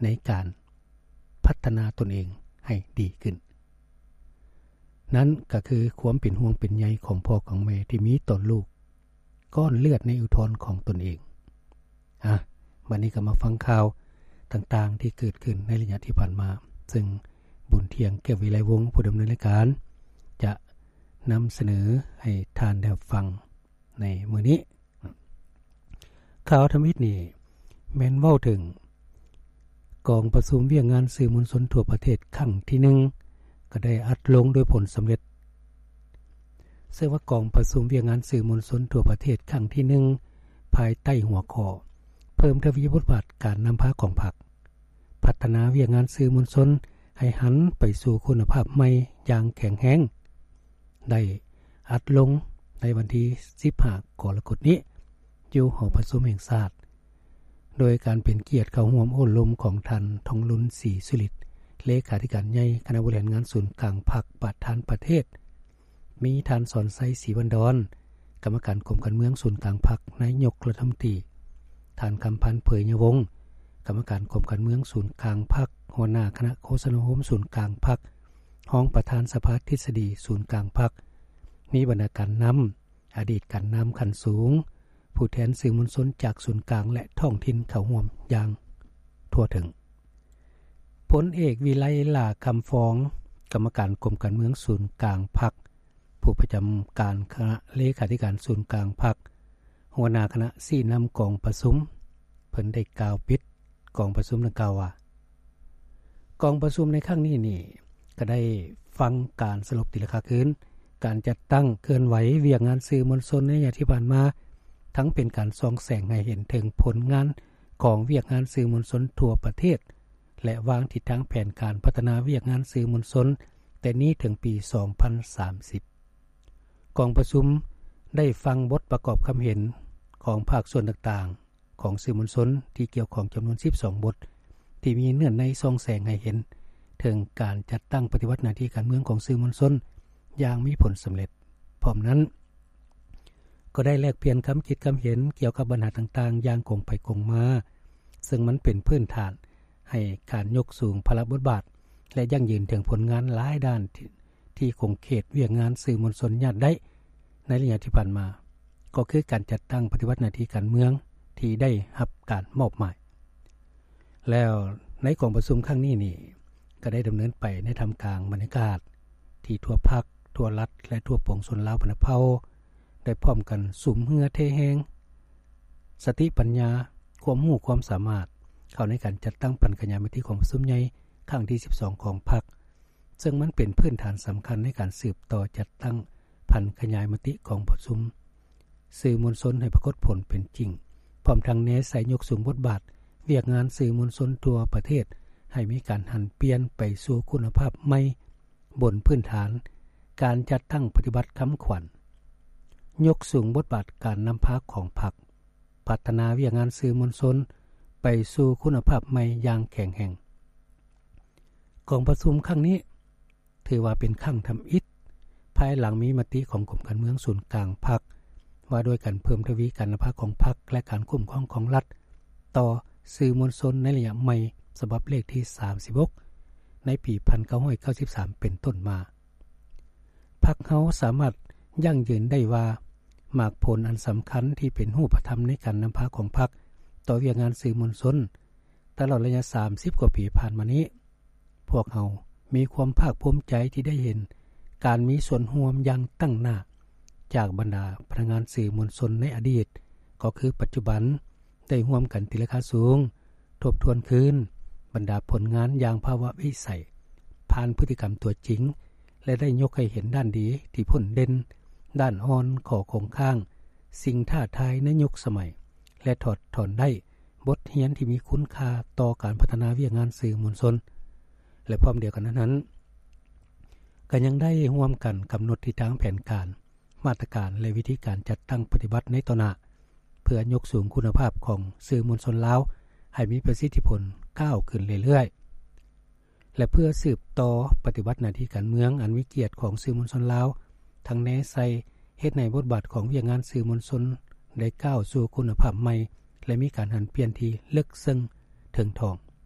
ໃນການພັດທະນາຕົນເອງໃຫ້ດີຂຶ້ນ. ນັ້ນກໍຄືຄວາມເປັນຫ່ວງເປັນໃຍຂອງພໍ່ຂອງແມ່ທີ່ມີຕໍ່ລູກກ້ອນເລືອດໃນອຸທອນຂອງຕົນເອງ. ອາ ບັດນີ້ກໍມາຟັງຂ່າວຕ່າງໆທີ່ເກີດຂຶ້ນໃນໄລຍະທີ່ຜ່ານມາ, ເຊິ່ງບຸນທ່ຽງ ແກ້ວວິໄລວົງ ຜູ້ດຳເນີນລາຍການ ຈະນຳສະເໜີໃຫ້ທ່ານໄດ້ຮັບຟັງໃນມື້ນີ້. ຂ່າວທຳອິດນີ້ແມ່ນເວົ້າເຖິງກອງປະຊຸມວຽກງານສື່ມວນຊົນທົ່ວປະເທດຄັ້ງທີໜຶ່ງ ກໍໄດ້ອັດລົງໂດຍຜົນສຳເລັດ. ເຊິ່ງວ່າກອງປະຊຸມວຽກງານສື່ມວນຊົນທົ່ວປະເທດຄັ້ງທີໜຶ່ງ ພາຍໃຕ້ຫົວຂໍ້ ເພີ່ມທະວີບົດບາດການນຳພາຂອງພັກ, ພັດທະນາວຽກງານສື່ມວນຊົນໃຫ້ຫັນໄປສູ່ຄຸນນະພາບໃໝ່ຢ່າງແຂງແຮງ ໄດ້ອັດລົງໃນວັນທີສິບຫ້າ ກໍລະກົດນີ້ ຢູ່ຫໍປະຊຸມແຫ່ງຊາດ, ໂດຍການເປັນກຽດເຂົ້າຮ່ວມໂອ້ລົມຂອງທ່ານ ທອງລຸນ ສີສຸລິດ ເລຂາທິການໃຫຍ່ຄະນະບໍລິຫານງານສູນກາງພັກ ປະທານປະເທດ, ມີທ່ານ ສອນໄຊ ສີວັນດອນ ກຳມະການກົມການເມືອງສູນກາງພັກ ນາຍົກລັດຖະມົນຕີ, ທ່ານ ຄຳພັນ ເຜີຍຍະວົງ ກຳມະການກົມການເມືອງສູນກາງພັກ ຫົວໜ້າຄະນະໂຄສະນາອົບຮົມສູນກາງພັກ ຮອງປະທານສະພາທິດສະດີສູນກາງພັກ, ມີບັນດາການນຳ, ອະດີດການນຳຂັ້ນສູງ, ຜູ້ແທນສື່ມວນຊົນຈາກສູນກາງ ແລະ ທ້ອງຖິ່ນເຂົ້າຮ່ວມຢ່າງທົ່ວເຖິງ. ພົນເອກ ວິໄລ ຫຼ້າຄຳຟອງ ກຳມະການກົມການເມືອງສູນກາງພັກ, ຜູ້ປະຈຳການຄະນະເລຂາທິການສູນກາງພັກ, ຫົວໜ້າຄະນະຊີ້ນຳກອງປະຊຸມ, ເພິ່ນໄດ້ກ່າວປິດກອງປະຊຸມດັ່ງກ່າວວ່າ, ກອງປະຊຸມໃນຄັ້ງນີ້ນີ້ ກໍໄດ້ຟັງການສະຫຼຸບຕີລາຄາຄືນ ການຈັດຕັ້ງເຄື່ອນໄຫວວຽກງານສື່ມວນຊົນໃນໄລຍະທີ່ຜ່ານມາ, ທັງເປັນການສ່ອງແສງໃຫ້ເຫັນເຖິງຜົນງານຂອງວຽກງານສື່ມວນຊົນທົ່ວປະເທດ ແລະ ວາງທິດທາງແຜນການພັດທະນາວຽກງານສື່ມວນຊົນແຕ່ນີ້ເຖິງປີສອງພັນສາມສິບ. ກອງປະຊຸມໄດ້ຟັງບົດປະກອບຄຳເຫັນຂອງພາກສ່ວນຕ່າງໆຂອງສື່ມວນຊົນທີ່ກ່ຽວຂ້ອງຈຳນວນສິບສອງບົດ ທີ່ມີເນື້ອໃນສ່ອງແສງໃຫ້ເຫັນເຖິງການຈັດຕັ້ງປະຕິບັດໜ້າທີ່ການເມືອງຂອງສື່ມວນຊົນຢ່າງມີຜົນສຳເລັດ. ພ້ອມນັ້ນ ກໍໄດ້ແລກປ່ຽນຄຳຄິດຄຳເຫັນກ່ຽວກັບບັນຫາຕ່າງໆຢ່າງກົງໄປກົງມາ, ເຊິ່ງມັນເປັນພື້ນຖານໃຫ້ການຍົກສູງພາລະບົດບາດ ແລະ ຢັ້ງຢືນເຖິງຜົນງານຫຼາຍດ້ານທີ່ ທີ່ຂົງເຂດວຽກງານສື່ມວນຊົນຍາດໄດ້ໃນໄລຍະທີ່ຜ່ານມາ, ກໍຄືການຈັດຕັ້ງປະຕິບັດໜ້າທີ່ການເມືອງທີ່ໄດ້ຮັບການມອບໝາຍ. ແລ້ວໃນກອງປະຊຸມຄັ້ງນີ້ນີ້ ກໍໄດ້ດຳເນີນໄປໃນທ່າມກາງບັນຍາກາດທີ່ທົ່ວພັກ, ທົ່ວລັດ ແລະ ທົ່ວປວງຊົນລາວບັນດາເຜົ່າ ໄດ້ພ້ອມກັນສຸມເຫື່ອເທແຮງ, ສະຕິປັນຍາ, ຄວາມຮູ້ຄວາມສາມາດ ເຂົ້າໃນການຈັດຕັ້ງຜັນຂະຫຍາຍມະຕິກອງປະຊຸມໃຫຍ່ຄັ້ງທີສິບສອງຂອງພັກ, ເຊິ່ງມັນເປັນພື້ນຖານສຳຄັນໃນການສືບຕໍ່ຈັດຕັ້ງຜັນຂະຫຍາຍມະຕິກອງປະຊຸມສື່ມວນຊົນໃຫ້ປາກົດຜົນເປັນຈິງ, ພ້ອມທັງແນໃສ່ຍົກສູງບົດບາດວຽກງານສື່ມວນຊົນທົ່ວປະເທດ ໃຫ້ມີການຫັນປ່ຽນໄປສູ່ຄຸນນະພາບໃໝ່ ບົນພື້ນຖານການຈັດຕັ້ງປະຕິບັດຄຳຂວັນ ຍົກສູງບົດບາດການນຳພາຂອງພັກ, ພັດທະນາວຽກງານສື່ມວນຊົນໄປສູ່ຄຸນນະພາບໃໝ່ຢ່າງແຂງແຮງ. ກອງປະຊຸມຄັ້ງນີ້ ຖືວ່າເປັນຄັ້ງທຳອິດ ພາຍຫຼັງມີມະຕິຂອງກົມການເມືອງສູນກາງພັກ ວ່າດ້ວຍການເພີ່ມທະວີການນຳພາຂອງພັກ ແລະ ການຄຸ້ມຄອງຂອງລັດຕໍ່ສື່ມວນຊົນໃນໄລຍະໃໝ່ ສະບັບເລກທີສາມສິບຫົກ ໃນປີໜຶ່ງພັນເກົ້າຮ້ອຍເກົ້າສິບສາມເປັນຕົ້ນມາ. ພັກເຮົາສາມາດຢັ້ງຢືນໄດ້ວ່າ ໝາກຜົນອັນສຳຄັນທີ່ເປັນຮູບປະທຳໃນການນຳພາຂອງພັກຕໍ່ວຽກງານສື່ມວນຊົນຕະຫຼອດໄລຍະສາມສິບກວ່າປີຜ່ານມານີ້ ພວກເຮົາມີຄວາມພາກພູມໃຈທີ່ໄດ້ເຫັນການມີສ່ວນຮ່ວມຢ່າງຕັ້ງໜ້າຈາກບັນດາພະນັກງານສື່ມວນຊົນໃນອະດີດ ກໍຄືປັດຈຸບັນ ໄດ້ຮ່ວມກັນຕີລາຄາສູງ, ທົບທວນຄືນບັນດາຜົນງານຢ່າງພາວະວິໄສ ຜ່ານພຶດຕິກຳຕົວຈິງ ແລະ ໄດ້ຍົກໃຫ້ເຫັນດ້ານດີທີ່ພົ້ນເດັ່ນ, ດ້ານອ່ອນ, ຂໍ້ຄົງຄ້າງ, ສິ່ງທ້າທາຍໃນຍຸກສະໄໝ ແລະ ຖອດຖອນໄດ້ ບົດຮຽນທີ່ມີຄຸນຄ່າຕໍ່ການພັດທະນາວຽກງານສື່ມວນຊົນ ແລະ ພ້ອມດຽວກັນນັ້ນ ກໍຍັງໄດ້ຮ່ວມກັນກຳນົດທິດທາງແຜນການ, ມາດຕະການ ແລະ ວິທີການຈັດຕັ້ງປະຕິບັດໃນຕໍ່ໜ້າ ເພື່ອຍົກສູງຄຸນນະພາບຂອງສື່ມວນຊົນລາວໃຫ້ມີປະສິດທິຜົນກ້າວຂຶ້ນເລື້ອຍໆ ແລະ ເພື່ອສືບຕໍ່ປະຕິບັດໜ້າທີ່ການເມືອງອັນມີກຽດຂອງສື່ມວນຊົນລາວ, ທັງແນໃສ່ເຮັດໃຫ້ບົດບາດຂອງວຽກງານສື່ມວນຊົນໄດ້ກ້າວສູ່ຄຸນນະພາບໃໝ່ ແລະ ມີການຫັນປ່ຽນທີ່ເລິກເຊິ່ງເຖິງຖອງ.